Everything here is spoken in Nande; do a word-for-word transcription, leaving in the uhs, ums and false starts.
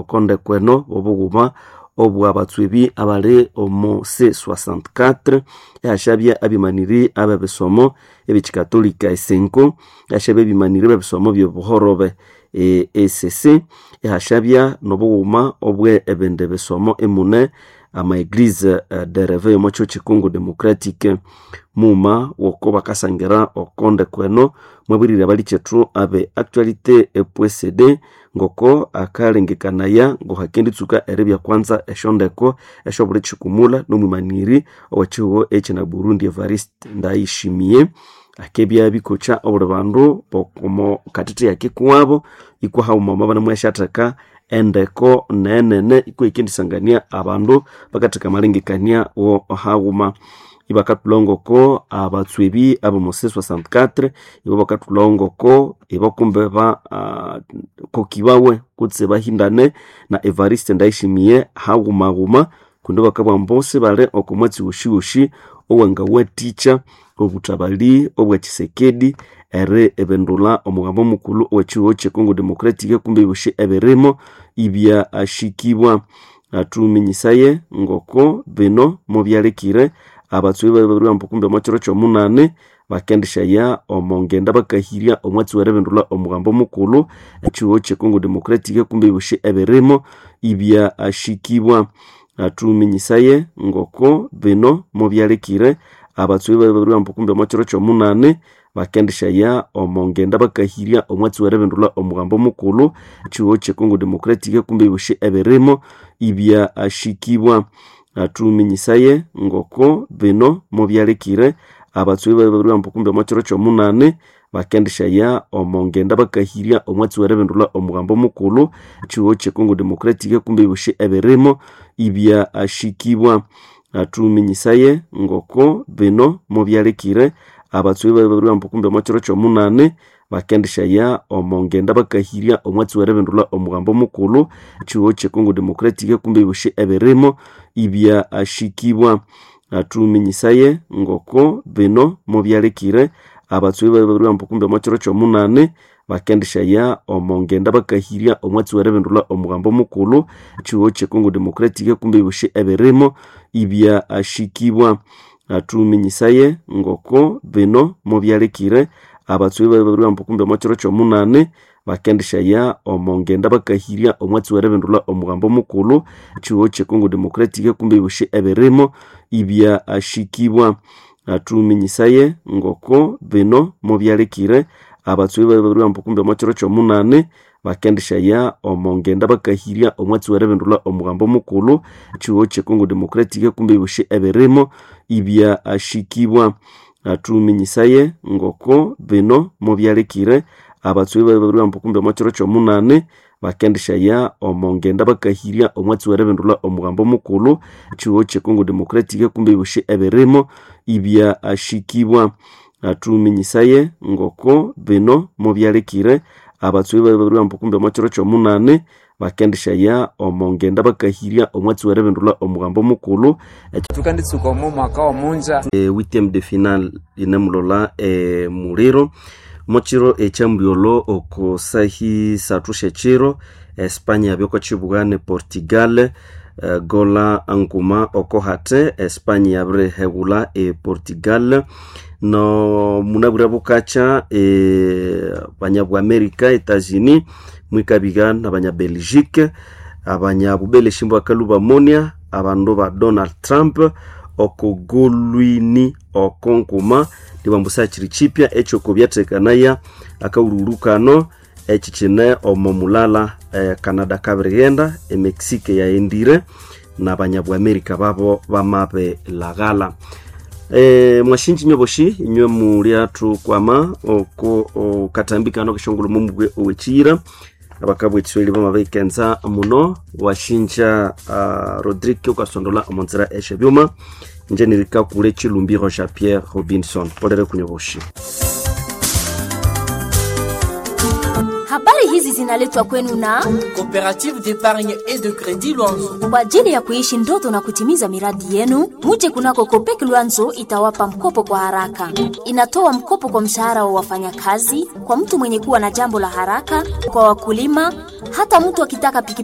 okondekweno obughuma obwa batswebi abali omu C sixty-four ehashabya abimaniri abebisomo ebyekikatolika esenko ehashabya abimaniri bebisomo byobuhorobe e E C C ehashabya nobughuma obwe ebindi bisomo emune ama eglise de réveil omo kyo Congo Democratique muma woko bakasangira okondekweno mwabirire abalikyethu abe actualité E P C D ngoko akalengekanaya ngohakenditsuka eribya kwanza eshondeko eshobuli chikumula nomwimaniri owekihugho ekina Burundi Evariste Ndayishimiye akebya bikocha obuli bandu bokomo katiti yakikuwabo ikwa hauma banamweshatheka endeko nenene ikwa ikendisangania abandu bakatheka amalengekania wo haghuma ibakathulhangoko abatswebi abomu C sixty-four ibo bakathulhangoko ibo kumbe ba uh, kokibawe kutse bahindane na Evariste Ndayishimiye haghuma-ghuma kundi bakabugha ambu bali oko mwatsi woshiwoshi owangawathikya obuthabali obwa Tshisekedi eri ebindulha omugambo mukulhu owekihugho kye Congo Democratic kumbe ebyosi ebirimo ibyashikibwa. Athuminyisaye ngoko bino mubyalekire abatswebi babiribugha kumbe omo kiro kyomunani bakendishaya omo ngenda bakahirya omwatsi weribindulha omugambo mukulhu ekihugho kye Congo Democratic kumbe ebyosi ebirimo ibyashikibwa. Athuminyisaye ngoko bino mubyalekire abatswebi babiribugha kumbe omo kiro kyomunani bakendishaya omo ngenda bakahirya omwatsi weribindulha omugambo mukulhu ekihugho kye Congo Democratic kumbe ebyosi ebirimo ibyashikibwa. Athuminyisaye ngoko bino mubyalekire abatswebi babiribugha kumbe omo kiro kyomunani bakendishaya omo ngenda bakahirya omwatsi weribindulha omugambo mukulhu ekihugho kye Congo Democratic kumbe ebyosi ebirimo ibyashikibwa. Athuminyisaye ngoko bino mubyalekire abatswebi babiribugha kumbe omo kiro kyomunani bakendishaya omo ngenda bakahirya omwatsi weribindulha omugambo mukulhu ekihugho kye Congo Democratic kumbe ebyosi ebirimo ibyashikibwa. Athuminyisaye ngoko bino mubyalekire abatswebi babiribugha kumbe omo kiro kyomunani bakendishaya omo ngenda bakahirya omwatsi weribindulha omugambo mukulhu ekihugho kye Congo Democratic kumbe ebyosi ebirimo ibyashikibwa. Athuminyisaye ngoko bino mubyalekire abatswebi babiribugha kumbe omo kiro kyomunani bakendishaya omo ngenda bakahirya omwatsi weribindulha omugambo mukulhu ekihugho kye Congo Democratic kumbe ebyosi ebirimo ibyashikibwa. Athuminyisaye ngoko bino mubyalekire abatswebi babiribugha kumbe omo kiro kyomunani bakendishaya omo ngenda bakahirya omwatsi weribindulha omugambo mukulhu ekihugho kye Congo Democratic kumbe ebyosi ebirimo ibyashikibwa. Athuminyisaye ngoko bino mubyalekire abatswebi babiribugha kumbe omo kiro kyomunani bakendishaya omo ngenda bakahirya omwatsi weribindulha omugambo mukulhu ekihugho kye Congo Democratic kumbe ebyosi ebirimo ibyashikibwa. Athuminyisaye ngoko bino mubyalekire abatswebi babiribugha kumbe omo kiro kyomunani bakendishaya omo ngenda bakahirya omwatsi weribindulha omugambo mukulhu. Tukanditsuka omo mwaka omunja e, huitième de finale inemulola e, muliro mokiro ekyambulyolo oko sahi sathu syekiro Espanya yabyoko kibuga ne Portugal e, gola nkuma oko hate Espanya yabirihewula e Portugal no munabwire bukakya e, banyabwa America Etats-Unis mwikabiga nabanya Belgique abanyabubeleshi bakalu bamonia abandu ba Donald Trump okugolwini okonkuma nibambusa kiri chipya ekyo kobyathekanaya akaululukano eki kine omo mulala eh, Canada kabirighenda eMexico yaendire nabanyabwa America babo bamabelaghala. E, mwashinji nyoboshi inywe mulyathu kwama oko okatambikano kishongolo mumubwe owekiyira abakabwa ekiswahili bamabikenza muno washinja uh, Rodrigue okasondola omunzira esyebyuma nje nirikakule Chilumbiro Jean Pierre Robinson polere kunyoboshi. Habari hizi zinaletwa kwenu na Coopérative d'épargne et de crédit Lwanzo. Kwa ajili ya kuishi ndoto na kutimiza miradi yenu, muje kunako Kopek Lwanzo itawapa mkopo kwa haraka. Inatoa mkopo kwa mshahara wa wafanyakazi, kwa mtu mwenye kuwa na jambo la haraka, kwa wakulima, hata mtu akitaka pikipiki.